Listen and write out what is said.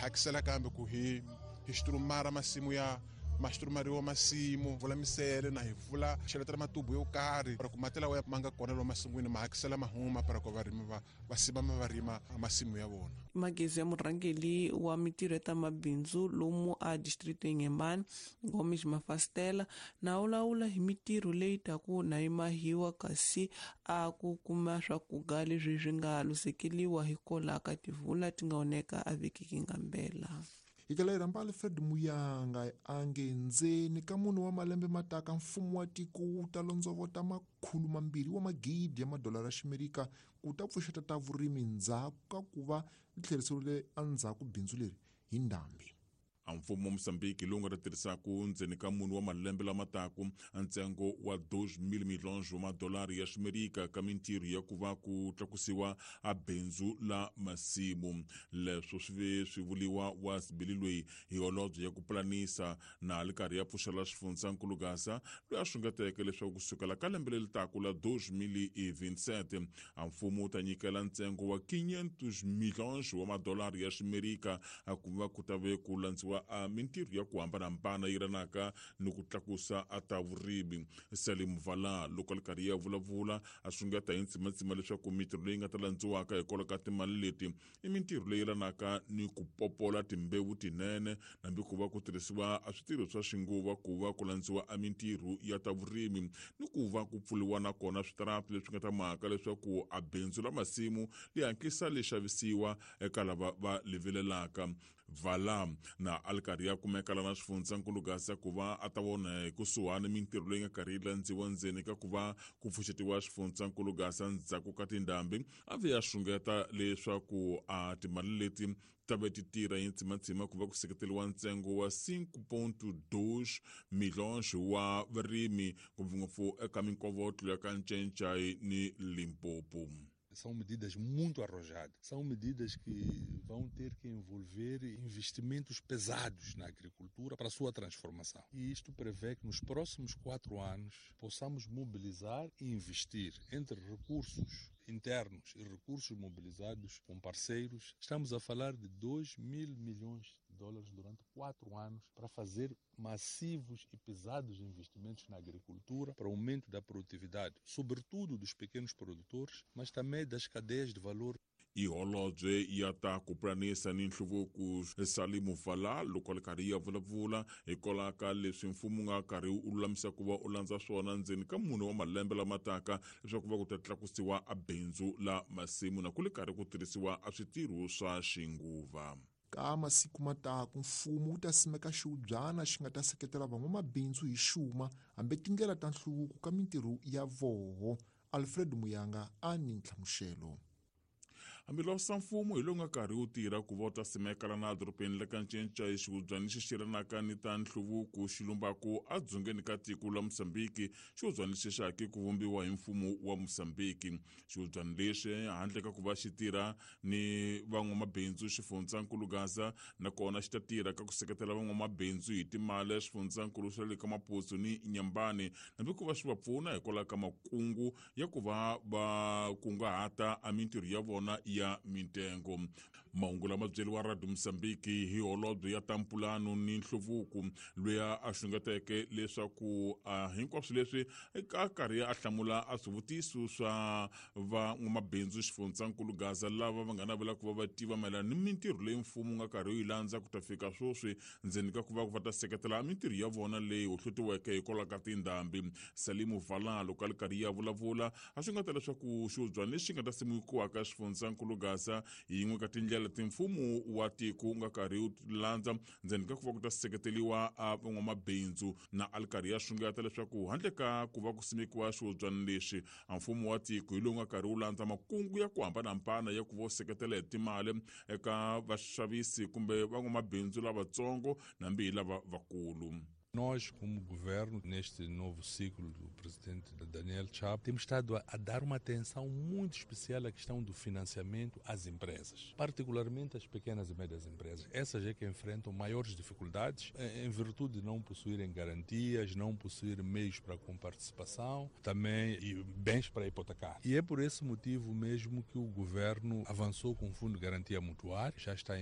Hakisela kambe ku hi hi xiturumara masimu ya maxiturumariwa masimu vula misele na hi vula cheletela matubu yo karhi para ku mati lawa ma nga kona lomu masin'wini ma hakisela mahuma para ku varimi va va sivama va rima masimu ya vona. Magezi ya murhangeli wa mitirho ya ta mabindzu lomu a distrito Inhambane, Gomes Mafastela, na ulawula hi mitirho leyi taku na yi mahiwa kasi a ku kuma swakuga leswi swi nga lusekeliwa hikola ka tivula ti nga oneka a vhiki ngambela. Hi tlela hi rhamba Alfred Muyanga a nge ndzeni ka mune wa malembe mataka mfumo wa tiko wu ta londzovota 200 wa magidi ya madolara ya ximerika ku ta pfuxeta ta vurimi ndzhaku ka ku va ri tlheriseriwile endzhaku bindzu leri hi ndhambi. A mfumo wa Mozambique lowu nga ta tirhisaku ndzeni ka mune wa malembe lama taku ntsengo wa 2,000 milhões wa madolari ya ximerika ka mintirho ya ku va ku tlakusiwa a bindzu la masimu. Leswo swi ve swi vuliwa wa sibili loyi hi holobye ya ku pulanisa na li karhi ya pfuxela xifundzankulu Gaza loyi a xungeteke leswaku kusukela ka lembe leri taku la 2027 a mfumo wu ta nyikela ntsengo wa 500 milhões wa madolari ya ximerika a ku va ku ta ve ku landziwa a mintirho ya ku hambanahambana yi ranaka ni ku tlakusa a ta vurimi. Salim Vala loko a li karhi ya vulavula a xungeta hi ntsimatsima leswaku mintirho leyi nga ta landziwaka hikwalaho ka timali leti i mintirho leyi yelanaka ni ku popola timbewu tinene nambi ku va ku tirhisiwa a switirho swa xinguva ku va ku landziwa a mintirho ya ta vurimi ni ku va ku pfuriwa na kona switarati leswi nga ta mhaka leswaku a bindzu la masimu li hatlisa li xavisiwa eka lava va li vilelaka. Vala na a li karhi ya kumeka lana xifundzankulu Gaza ku va a ta vona hi kusuhani mintirho leyi nga karhi yi landziwa ndzeni ka ku va ku pfuxetiwa xifundzankulu Gaza ndzhaku ka tindhambi. A ve a xungeta leswaku a timali leti ta ve ti tirha hi ntsimatsima ku va ku seketeriwa ntsengo wa 5.2 milhões wa varimi ngopfungopfu eka minkovotlo ya ka Ncencai ni Limpopo. São medidas muito arrojadas, são medidas que vão ter que envolver investimentos pesados na agricultura para a sua transformação. E isto prevê que nos próximos 4 anos possamos mobilizar e investir entre recursos internos e recursos mobilizados com parceiros. Estamos a falar de 2 mil milhões de dólares durante 4 anos para fazer massivos e pesados investimentos na agricultura para o aumento da produtividade, sobretudo dos pequenos produtores, mas também das cadeias de valor. I holobye ya ta ku pulanisa ni nhluvuko Salimu Vala loko a li karhi ya vulavula hikwalaho ka leswi mfumo wu nga karhi wu lulamisa ku va u landza swona ndzeni ka mune wa malembe lama taka leswaku va ku ta tlakusiwa a bindzu la masimu na ku li karhi ku tirhisiwa a switirho swa xinguva. Ka masiku mataku mfumo wu ta simeka xiubyana xi nga ta seketela van'wamabindzu hi xuma hambi tindlela ta nhluvuko ka mintirho ya voho. Alfred Muyanga a ni nhlamuxelo. Hambiloko mfumo hi lowu nga karhi wu tirha ku va u ta simeka lana edorobeni la ka Ncinca xihubyani lexi xiranaka ni ta nhluvuko xi lumbaku edzongeni ka tiko la Mozambiki. Xihubyani lexi xa hake ku vumbiwa hi mfumo wa Mozambiki. Xihubyani lexi handle ka ku va xi tirha ni van'wamabindzu xifundzankulu Gaza nakona xi ta tirha ka ku seketela van'wamabindzu hi timali xifundzankulu xa le ka Maputo ni Inhambane hambi ku va swi va pfuna hikwalaho ka makungu ya ku va va kunguhata a mintirho ya vona ya mintengo. Mahungu lama byeriwa Radio Mozambique hi holobye ya ta mpulano ni nhluvuko loyi a xungeteke leswaku hinkwaswo leswi a karhi a hlamula a swivutiso swa van'wamabindzu xifundzankulu Gaza lava va nga navela ku va va tiva mayelana ni mintirho leyi mfumo wu nga karhi wu yi landza ku ta fika sweswi ndzeni ka ku va va ta seketela mintirho ya vona leyi hohlotiweke hikwalaho ka tindhambi. Salimu Vala loko a li karhi ya vulavula a swi nga ta leswaku xihubyana lexi nga ta simekiwaka xifundzankulu Gaza hi yin'we ka tindlela ti mfumo wa tiko wu nga karhi wu landza ndzeni ka ku va ku ta seketeriwa a van'wamabindzu na a li karhi ya xungeta leswaku handle ka ku va ku simekiwa xihubyana lexi a mfumo wa tiko hi lowu nga karhi wu landza makungu ya ku hambanahambana ya ku va wu seketela hi timali eka vaxavisi kumbe van'wamabindzu lavatsongo nambi hi lava vakulu. Nós, como governo, neste novo ciclo do presidente Daniel Chapo, temos estado a dar uma atenção muito especial à questão do financiamento às empresas, particularmente às pequenas e médias empresas. Essas é que enfrentam maiores dificuldades em virtude de não possuírem garantias, não possuírem meios para comparticipação, também e bens para hipotecar. E é por esse motivo mesmo que o governo avançou com o Fundo de Garantia Mutuária, já está